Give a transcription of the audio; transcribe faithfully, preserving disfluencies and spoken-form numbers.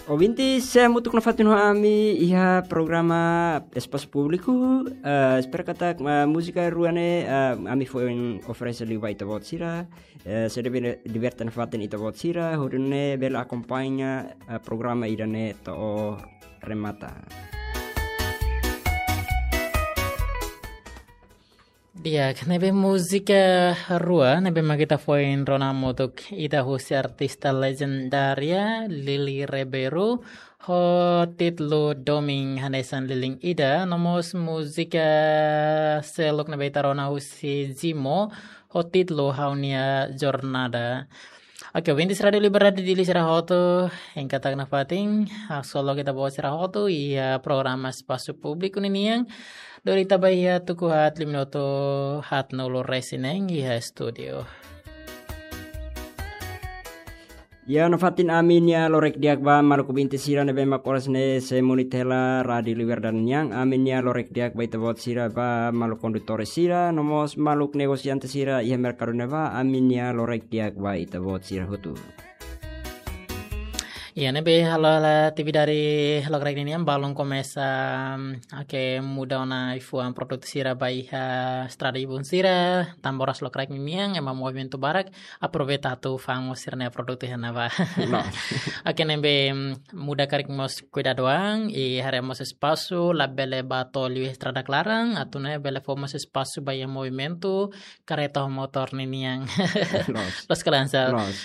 Ouvinte, sei hamutuk nafatin ho ami iha programa Espasu Públiku. Eh, espera katak, eh, múzika rua ne'e, eh, ami foin oferese liu ba ita-boot sira. Eh, sei diver-, diverte nafatin ita-boot sira, hodi nune'e bele akompaña, eh, programa ida-ne'e to'o remata. Di'ak, ne'ebé múzika rua ne'ebé mak ita foin rona hamutuk ida husi artista lejendária Lili Rebeiru, ho títulu Domin Hanesan Lilin Ida, no mós múzika seluk ne'ebé ita rona husi Zimo, ho títulu Ha'u-nia Jornada. Oke, ouvintes Rádiu Liberdade Dili sira hotu, hein katak nafatin, haksolok ita-boot sira hotu iha programa Espasu Públiku ninian. Dori ita ba iha tuku haat lima minutu haatnulu resin neen iha estúdiu. Ya, nafatin ami-nia lorokraik di'ak ba maluk ouvinte sira ne'ebé mak oras ne'e sei munit hela Rádiu Liberdade nian. Ami-nia lorokraik di'ak ba ita-boot sira ba maluk kondutór sira, no mós maluk negosiante sira iha merkadu ne'ebá, ami-nia lorokraik di'ak ba ita-boot sira hotu. Ya, ne'ebé halo hela atividade lokraik ninian balun komesa, mm, oke, muda ona ai-fuan produtu sira ba iha estrada ibun sira, tanba oras lokraik ninian ema movimentu barak, aproveita atu fa'an mós sira-nia produtu iha ne'ebá. Loos. Oke, ne'ebé, mm, muda karik mós kuidadu an, i haree mós espasu, labele bá to'o liu estrada klaran, atu nune'e bele fó mós espasu ba iha movimentu kareta ho motór ninian. Loos. Loos ka lae, Ansel? Loos.